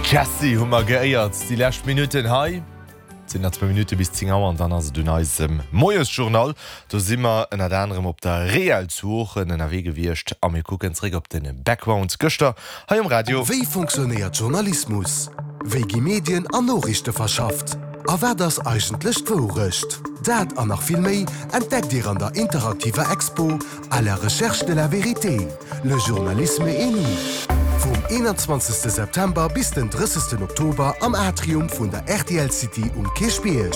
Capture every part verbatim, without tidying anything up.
Jessie hu mer geéiert déi lescht Minutten hei. Et sinn nach zwou Minutte bis zéng Auer an dann ass et un eisem Moiesjournal. Do si mer ënnert anerem op der Reel zu Oochen ënnerwee gewiescht a mir kucken zréck op de Background gëschter hei um Radio. Wéi funktionéiert Journalismus? Wéi gi Medien an Noriichte verschafft? A wat ass eigentlech d'Wourecht? Dat an nach vill méi entdeckt Dir an der interaktiver Expo À la recherche de la vérité, le journalisme et nous. Vum eenanzwanzegste September bis den drëssegsten Oktober am Atrium vun der R T L City um Kierchbierg.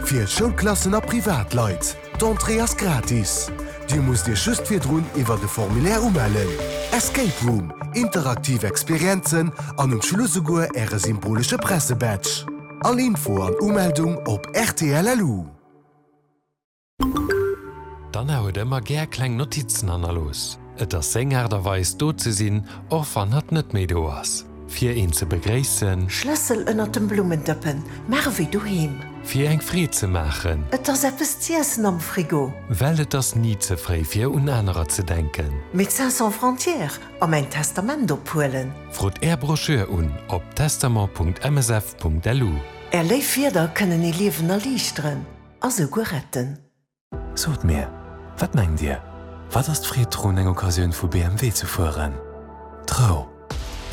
Fir Schoulklassen a Privatleit. D'Entrée ass gratis. Dir musst Iech just virdrun iwwer de Formulaire umellen. Escape Room, interaktiv Experienzen an um Schluss esouguer Äre symbolesche Pressebadge. All Info an Umeldung op R T L L U. D'Anna huet ëmmer gär kleng Notizen hannerlooss. Et ass seng Aart a Weis do ze sinn, och wann hatt net méi do ass. Fir een ze begréissen. Schlëssel ënnert dem Blummendëppen, maach ewéi doheem. Fir eng Freed ze maachen. Et ass eppes z'iessen am Frigo. Well et ass ni ze fréi fir un anerer ze denken. Médecins Sans Frontières a mäin Testament ophuelen. Frot Är Broschür un op testament Punkt M S F Punkt L U. Är léif Wierder kënnen ee Liewen erliichteren a souguer retten. Sot mir, wat mengt Dir? Wat ass d'Freed drun, eng Occasioun vu B M W ze fueren? D'Rou.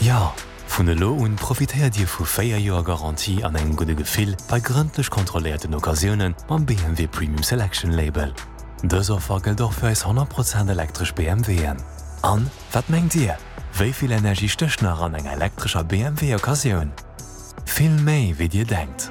Jo, vun elo un profitéiert Dir vu véier Joer Garantie an engem gudde Gefill bei grëndlech kontrolléierten Occasioune mam B M W Premium Selection Label. Dës Offer gëllt och fir eis honnert Prozent elektresch B M W'en. An, wat mengt Dir? Wéi vill Energie stécht nach an enger elektrescher B M W Occasioun? Vill méi wéi Dir denkt.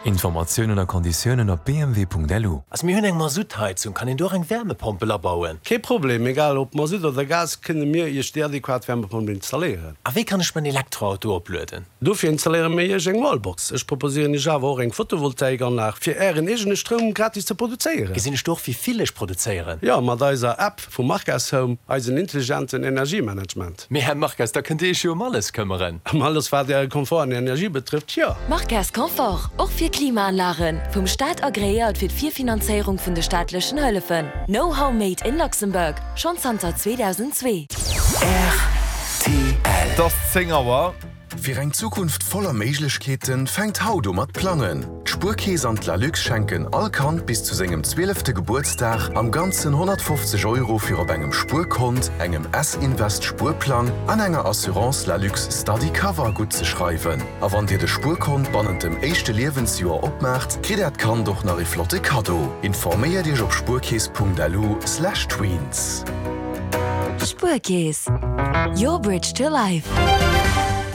Informatiounen a Konditiounen op B M W Punkt L U. Also mir hunn eng Masuttheizung, kann een do och eng Wärmepompel abauen? Kee Problem, egal ob Masutt oder Gas kënne mir Iech déi adequat Wärmepompel installéieren. A wéi kann ech mäin Elektroauto oplueden? Dofir installéiere mir Iech eng Wallbox. Ech proposéieren Iech awer och eng Photovoltaikanlag fir Ären eegene Stroum gratis ze produzéieren. Gesinn ech do och wéi vill ech produzéieren? Jo, mat eiser App vu Marques Home, eisen intelligenten Energiemanagement. Mee Här Marques, da kënnt Dir Iech jo ëm alles këmmeren. Ëm alles wat Äre Komfort an Energie betrëfft, jo. Marques Confort, och fir Klimaanlagen, vum Staat agreéiert fir d'Virfinanzéierung vun de staatlechen Hëllefen. Know-how made in Luxembourg, schonn zanter zweedausendzwee. R T L. Et ass zéng Auer. Fir eng Zukunft voller Méiglechkeeten, fänkt haut u mat plangen. D'Spuerkeess an d'Lalux schenken all Kand bis zu sengem zwielefte Gebuertsdag am Ganzen honnertfofzeg Euro fir op engem Spuerkont, engem S-Invest Spuerplang an enger Assurance Lalux Study Cover guttzeschreiwen. A wann Dir de Spuerkont bannent dem éischte Liewensjoer opmaacht, kritt Äert Kand och nach e flotte Kaddo. Informéiert Iech op spuerkeess Punkt L U slash tweens. Spuerkeess, your bridge to life.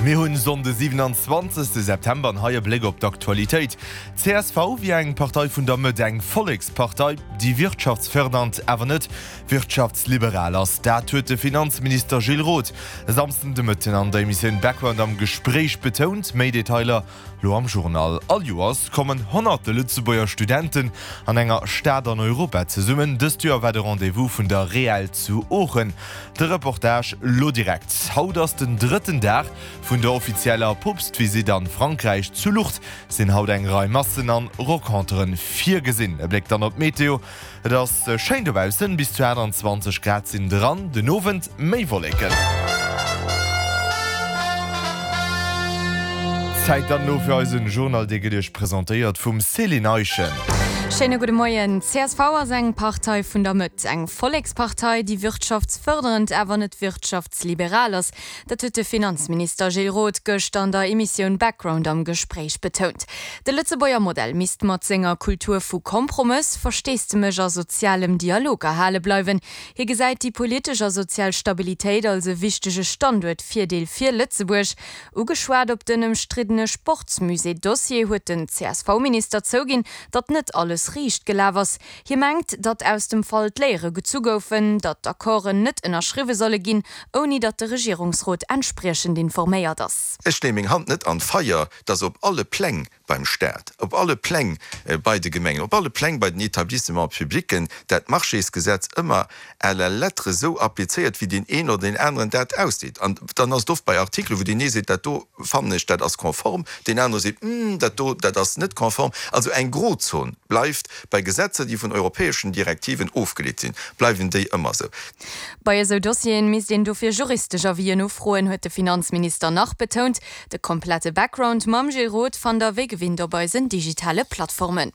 Mir hunn Sonnde siwenanzwanzegste September an hei e Bléck op d'Aktualitéit. C S V wier eng Partei vun der Mëtt, eng Vollekspartei, déi wirtschaftsfërdernd, awer net wirtschaftsliberal ass. Dat huet de Finanzminister Gilles Roth e Samsden de Mëtten an der Emissioun Background am Gespréich betount. Méi Detailer lo am Journal. All Joers kommen honnerte Lëtzebuerger Studenten an enger Stad an Europa zesummen. Dëst Joer war de Rendez-vous vun der Reel zu Oochen. De Reportage lo direkt. Haut ass den drëtten Dag vun der offizieller Poopstvisitt an Frankräich. Zu Lourdes sinn haut eng Rei Massen an Renconteren virgesinn. E Bléck dann op d'Meteo. Et ass schéin dobaussen, bis zu aachtanzwanzeg Grad sinn dran, den Owend méi Wolleken. Zäit dann elo fir eisen Journal, dee gëtt Iech presentéiert vum Céline Eischen. Schéine gudde Moien. C S V ass eng Partei vun der Mëtt, eng Vollekspartei, déi wirtschaftsfërderend, awer net wirtschaftsliberal ass. Dat huet de Finanzminister Gilles Roth gëschter an der Emissioun Background am Gespréich betount. De Lëtzebuerger Modell misst mat senger Kultur vu Kompromëss, Versteesdemech a sozialem Dialog erhale bleiwen. Hie gesäit déi politesch a sozial Stabilitéit als e wichtege Standuertvirdeel fir Lëtzebuerg. Ugeschwat op den ëmstriddene Sportsmusée-Dossier huet den C S V-Minister zouginn, datt net alles riicht gelaf ass. Hie mengt, datt aus dem Fall d'Léiere gezu goufen, datt d'Accorden net ënnerschriwwe solle ginn, ouni datt de Regierungsrot entspriechend informéiert ass. Ech leeë meng Hand net an d'Feier, dass op alle Pläng beim Staat, op alle Pläng bei de Gemengen, op alle Pläng bei den Etablissements publicen, dat Marchésgesetz ëmmer à la lettre esou applizéiert, wéi deen een oder deen aneren dat ausleet. An dann ass et oft bei Artikelen, wou deen ee seet, dat do fannen ech, dat ass konform, deen anere seet, hm, dat do, dat ass net konform. Also eng Grozon bleift bei Gesetzer, déi vun europäeschen Direktiven ofgeleet sinn, bleiwen déi ëmmer esou. Bei esou Dossieren misst een dofir juristesch Avisen ufroen, huet de Finanzminister nach betount. De komplette Background mam Gilles Roth fannt der wéi gewinnt op eisen digitale Plattformen.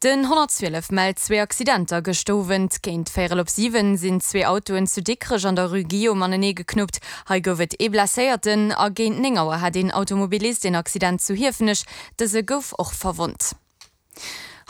Den honnertzwielef mellt zwee Accidenter gëscht Owend. Géint véierel op siwen sinn zwee Autoen zu Dikrech an der Rue Guillaume anenee geknuppt. Hei gouf et ee Blesséierten a géint néng Auer hat een Automobilist een Accident zu Hiefenech. Dëse gouf och verwonnt.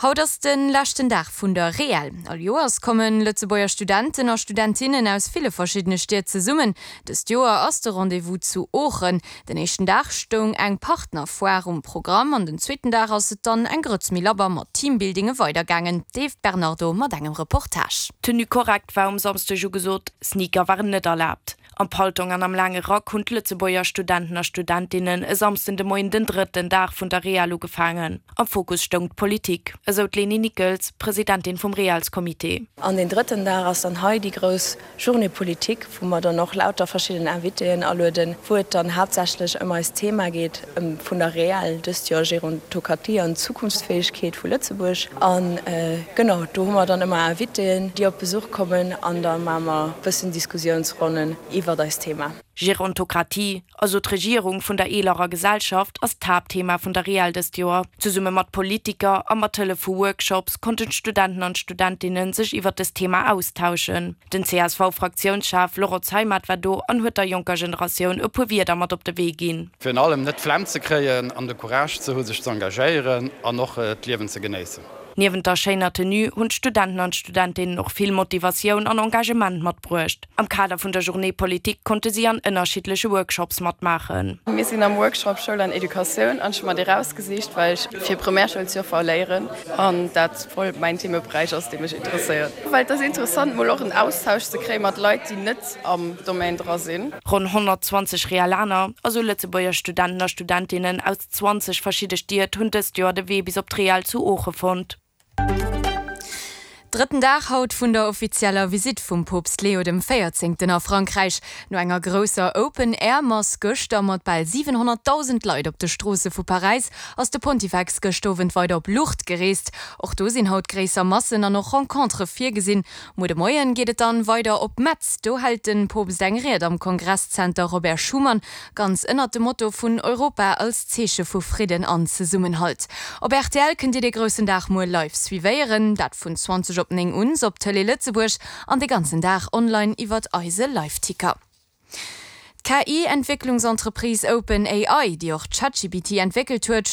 Haut ass de leschten Dag vun der Reel. All Joers kommen Lëtzebuerger Studenten a Studentinnen aus ville verschiddene Stied zesummen. Dëst Joer ass de Rendez-vous zu Oochen. Den éischten Dag stoung eng Partnerfoire um Programm an den zweeten Dag ass et dann eng Grëtz méi labber mat Teambuildinge weidergaangen. D'Eve Bernardo mat engem Reportage. Tenue korrekt war um Samschdeg ugesot, Sneaker waren net erlaabt. Am Paltong an am laange Rack hunn d'Lëtzebuerger Studenten a Studentinnen e Samschden de Moien den drëtten Dag vun der Reel ugefaangen. Am Fokus stoung d'Politik, esou d'Leni Nickels, Presidentin vum Reelscomité. An den drëtten Dag ass dann hei déi grouss Journée politique, wou mer dann och lauter verschidden Invitéen alueden, wou et dann haaptsächlech ëm eist Thema geet vun der Reel, dëst Joer Gerontokratie an Zukunftsfäegkeet vu Lëtzebuerg. An genau, do hu mer dann ëmmer Invitéen, déi op Besuch kommen an da maache mer e bëssen Diskussiounsronnen iwwert eist Thema. Gerontokratie, also d'Regierung vun der eelerer Gesellschaft, ass d'Haaptthema vun der Reel dëst Joer. Zesumme mat Politiker a mat Hëllef vu Workshops konnten d'Studenten an d'Studentinne sech iwwert dëst Thema austauschen. Den C S V-Fraktiounschef Laurent Zeimet war do an huet der jonker Generatioun e puer Wierder mat op de Wee ginn. Virun allem net d'Flemm ze kréien an de Courage ze hu sech ze engagéieren an och d'Liewen ze genéissen. Niewent der schéiner Tenue hunn d'Studenten an d'Studentinnen och vill Motivatioun an Engagement matbruecht. Am Kader vun der Journée politique konnte si an ënnerschiddleche Workshops matmaachen. Mir sinn am Workshop Schoul an Educatioun an ech hu mer dee rausgesicht, well ech fir Primärschoul ze léieren an dat voll mäin Themeberäich ass, dee mech interesséiert. Well et ass interessant mol och en Austausch ze kréie mat Leit, déi net am Domaine dra sinn. Ronn honnertzwanzeg Reelaner, also Lëtzebuerger Studenten a Studentinnen aus zwanzeg verschidde Stied hunn dëst Joer de Wee bis op d'Reel zu Ooche fonnt. Drëtten Dag haut vun der offizieller Visitt vum Poopst Leo dem Véierzéngten a Frankräich. No enger grousser Open-Air-Mass gëschter mat bal siwenhonnertdausend Leit op de Stroosse vu Paräis ass de Pontifex gëscht Owend weider op Lourdes gereest. Och do sinn haut gréisser Massen an och Rencontere virgesinn. Muer de Moien geet et dann weider op Metz. Do hält de Poopst eng Ried am Kongresszenter Robert Schuman, ganz ënnert dem Motto vun Europa als Zeeche vu Fridden an Zesummenhalt. Op R T L kënnt Dir de groussen Dag muer live suivéieren, dat vun zwanzeg op néng un op Tëlee Lëtzebuerg an de ganzen Dag online iwwert eise Liveticker. D'K I-Entwécklungsentreprise OpenAI, déi och ChatGPT entwéckelt huet,